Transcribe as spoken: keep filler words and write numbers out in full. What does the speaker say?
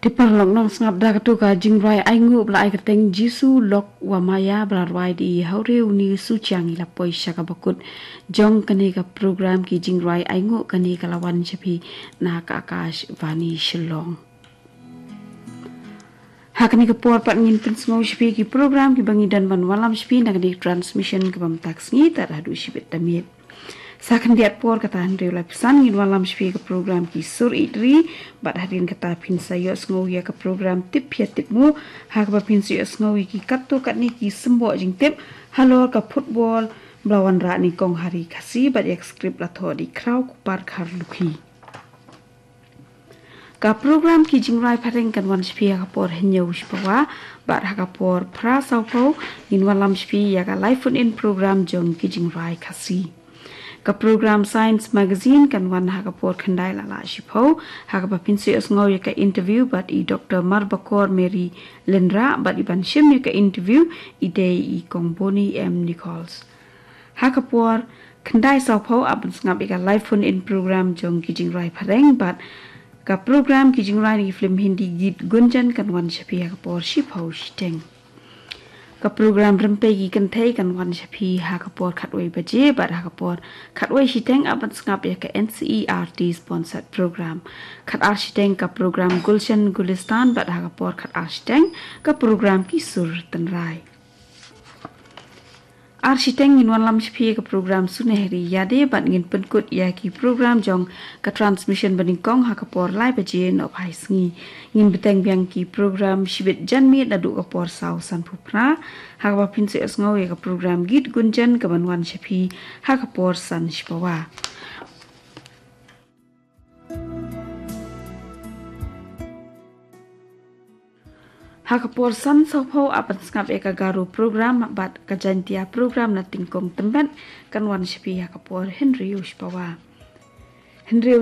Te paralok nongsngap, da kato ka jingrwai ainguh ba la ai kyrteng Jisu Lok wa Maya ba la rwai da i Hawriew Ni Suchiang i la poi sha kaba kut jong kane ka program ki jingrwai ainguh. Kane ka la wan sha phi na ka Akashvani Shillong. Ha kane ka por pat ngin pynsngew sha phi ki program kiba ngi don ban wallam sha phi na kane ka transmission kaba mynta ka sngi tad haduh shibit ta miet. Sa khyndiat por kata hynriew laiphew san ngin wallam sha phi ka program Ki Sur Ïeit Ri, bad hadien kata phin sa ïohsngew ïa ka program Tip Pia Tip Mu, ha kaba phin sa ïohsngew ïa ki katto katne ki symboh jingtip halor ka football ba la wanrah nyngkong ha ri Khasi, bad ïa ka script la thoh da i Khraw Kupar Kharlukhi. Ka program Ki Jingrwai Phareng kan wan sha phi ha ka por hynñiew shipawa, bad ha ka por phra sawphew ngin wallam sha phi ïa ka live phone in program jong Ki Jingrwai Khasi. Ka program Science Magazine kan wan ha ka por khyndai la lah shiphew, ha kaba phin sa ïohsngew ïa ka interview bad i Doktor Marbakor Mary Lynrah, bad i ban shim ïa ka interview i dei i Kong Bonnie M Nichols. Ha ka por khyndai sawphew ap ban sngap ïa ka live phone in program jong Ki Jingrwai Phareng, bad ka program Ki Jingrwai na ki film Hindi Geet Gunjan kan wan sha phi ha ka por shiphew shiteng. Ka program Rympei ki Kynthei kan wan sha phi ha ka por khatwei baje, bad ha ka por khatwei shiteng ap ban sngap ïa ka N C E R T sponsored program. Khatar shiteng ka program Gulshan Gulistan, bad ha ka por khatar shiteng ka program Ki Sur Tynrai. Ar shiteng ngin wallam sha phi ïa ka program Sunehri Ïade, bad ngin pynkut ïa ki program jong ka transmission ba nyngkong ha ka por lai baje nohphai sngi. Ngin bteng biang ki program shibit janmiet naduh ka por saw sanphew phra, ha kaba phin sa ïohsngew ïa ka program Geet Gunjan kaban wan sha phi ha ka por san shipawa. Ha ka por san sawphew ap ban sngap ïa ka Garo program, bad ka Jaintia program na Tyngkong Tymbet kan wan sha phi ha ka por hynriew shipawa. Hynriew